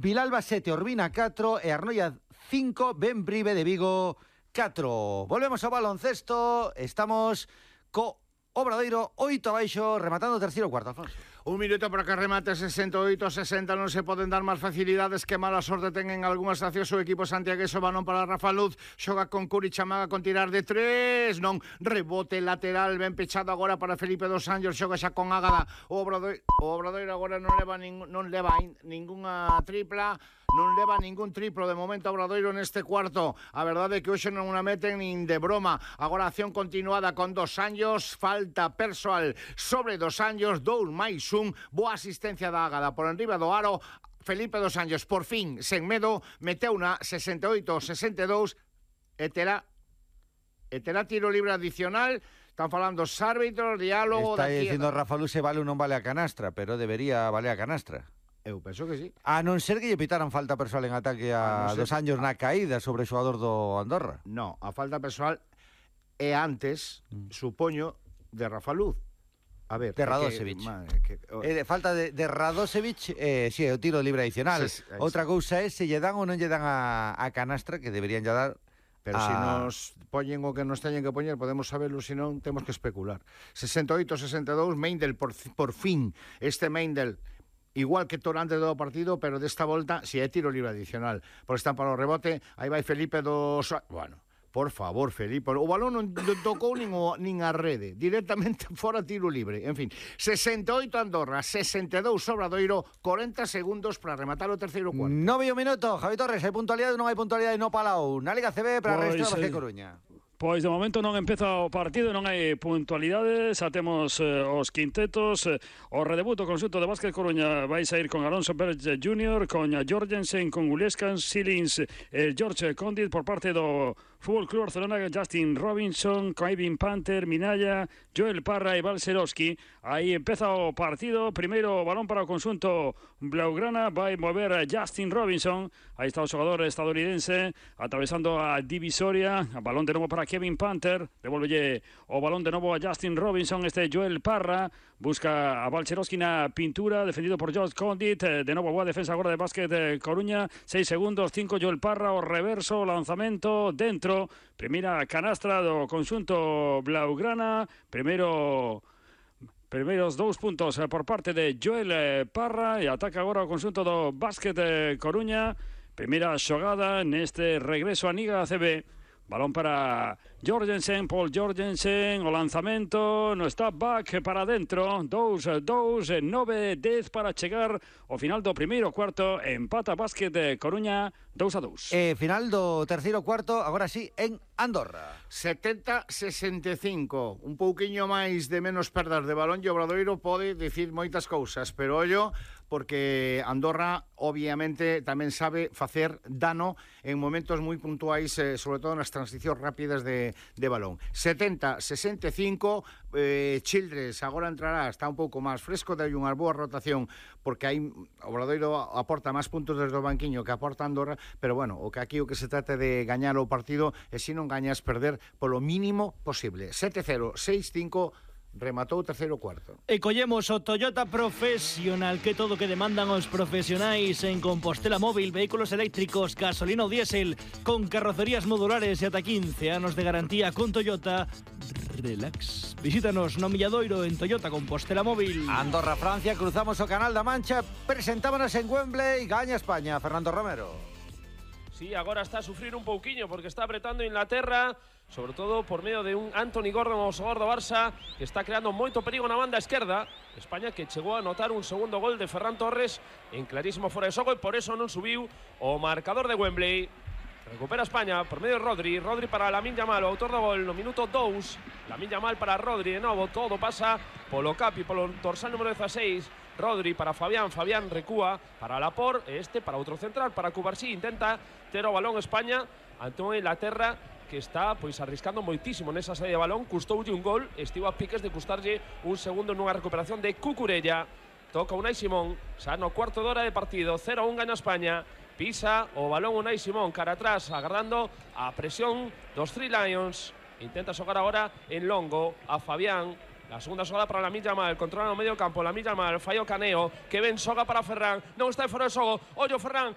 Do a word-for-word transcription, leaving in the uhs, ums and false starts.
Vilalba sete, Urbina catro e Arnoia cinco, Benbrive de Vigo catro. Volvemos ao baloncesto, estamos co Obradoiro oito abaixo, rematando o terceiro cuarto, Alfonso. Un minuto para que remate sesenta e oito sesenta. Non se poden dar máis facilidades que mala sorte ten en algunhas accións o equipo santiagueso. Balón para Rafa Luz, xoga con Curi Chamaga con tirar de tres, non, rebote lateral ben pechado agora para Felipe dos Anjos, xoga xa con Ágada. O Obradoiro, o Obradoiro agora non leva ning, non leva in, ningunha tripla, non leva ningún triplo de momento Obradoiro neste cuarto. A verdade é que hoxe non a meten nin de broma. Agora acción continuada con Dos Anjos, falta persoal sobre Dos Anjos, dous máis un, boa asistencia da Ágada por enriba do aro. Felipe dos Anjos, por fin, sen medo, meteu na sesenta e oito sesenta e dous e terá, e terá tiro libre adicional. Están falando os árbitros, diálogo... Está dicindo Rafa Luz se vale ou non vale a canastra, pero debería valer a canastra. Eu penso que sí. A non ser que lle pitaran falta persoal en ataque a, a no Dos Anjos na caída sobre o xogador do Andorra. No, a falta persoal é antes, mm. supoño, de Rafa Luz. A ver, de Radosevic. Que, que, oh. eh, falta de, de Radosevic, eh, si, sí, o tiro libre adicional. Sí, sí, outra cousa é se lle dan ou non lle dan a, a canastra, que deberían lle dar. Pero a... se nos poñen o que nos teñen que poñer, podemos saberlo, se non, temos que especular. sesenta e oito sesenta e dous, Meindel, por, por fin, este Meindel, igual que Torante do partido, pero desta volta, si é tiro libre adicional. Por están para o rebote, aí vai Felipe dos... Bueno... Por favor, Felipe, o balón non tocou nin, o, nin a rede, directamente fora tiro libre. En fin, sesenta e oito Andorra, sesenta e dous Obradoiro, corenta segundos para rematar o terceiro cuarto. Nove minuto, Javi Torres, hai puntualidade ou non hai puntualidade no Palau? Na Liga C B para pues, a resta da Basque Coruña. Pois de momento non empeza o partido, non hai puntualidades, xa temos eh, os quintetos, eh, o redebuto conxunto de Basque Coruña vai sair con Alonso Pérez júnior, con Jorgensen, con Guliescan, Silins, eh, George Condit por parte do Fútbol Club Barcelona, Justin Robinson, Kevin Panther, Minaya, Joel Parra e Balcerowski. Aí empeza o partido, primeiro balón para o conxunto blaugrana, vai mover a Justin Robinson, aí está o xogador estadounidense, atravesando a divisoria, a balón de novo para Kevin Panther, devolvelle o balón de novo a Justin Robinson, este Joel Parra, busca a Balcerowski na pintura, defendido por George Condit, de novo boa defensa agora de Basket de Coruña, seis segundos, cinco Joel Parra, o reverso, lanzamento, dentro, primeira canastra do conxunto blaugrana, primeiro... Primeiros dous puntos por parte de Joel Parra e ataca agora o conxunto do Basket de Coruña. Primeira xogada neste regreso a Liga C B. Balón para Jorgensen, Paul Jorgensen, o lanzamento, no step back para dentro, dous, dous, nove, dez para chegar ao final do primeiro cuarto, empata Basket de Coruña, dous a dous. E final do terceiro cuarto, agora sí, en Andorra. setenta a sesenta e cinco, un pouquiño máis de menos perdas de balón e Obradoiro pode dicir moitas cousas, pero ollo, porque Andorra obviamente tamén sabe facer dano en momentos moi puntuais, eh, sobre todo nas transicións rápidas de, de balón. setenta a sesenta e cinco, eh, Childress agora entrará, está un pouco máis fresco, dai unha boa rotación, porque hai Obradoiro aporta máis puntos desde o banquiño que aporta Andorra, pero bueno, o que aquí o que se trata de gañar o partido e se non gañas perder polo mínimo posible. sete cero, seis cinco, rematou o terceiro cuarto. E collemos o Toyota Profesional, que todo que demandan os profesionais en Compostela Móvil, vehículos eléctricos, gasolina ou diésel, con carrocerías modulares e ata quince anos de garantía con Toyota. Relax. Visítanos no Milladoiro en Toyota Compostela Móvil. Andorra, Francia, cruzamos o Canal da Mancha, presentámonos en Wembley, gaña España, Fernando Romero. Sí, agora está a sufrir un pouquiño porque está apretando Inglaterra, sobre todo por medio de un Anthony Gordon, o xogador do Barça, que está creando moito perigo na banda esquerda. España que chegou a anotar un segundo gol de Ferran Torres en clarísimo fora de xogo e por eso non subiu o marcador de Wembley. Recupera España por medio de Rodri, Rodri para Lamine Yamal, o autor do gol no minuto dous. Lamine Yamal para Rodri de novo, todo pasa polo capi, polo dorsal número dieciséis. Rodri para Fabián, Fabián recúa para Laporte, este para outro central, para Cubarsí, intenta ter o balón España ante unha Inglaterra que está pois arriscando moitísimo nesa saída de balón, custoulle un gol, estivo a piques de custarlle un segundo nunha recuperación de Cucurella. Toca Unai Simón, xa no cuarto de hora de partido, cero a un gaña España, pisa o balón Unai Simón, cara atrás, agardando a presión dos Three Lions, intenta xogar agora en longo a Fabián. La segunda xogada para Lamine Yamal, controla no medio campo, Lamine Yamal, fallo Caneo, que ben xoga para Ferran, non está fora de xogo, ollo Ferran,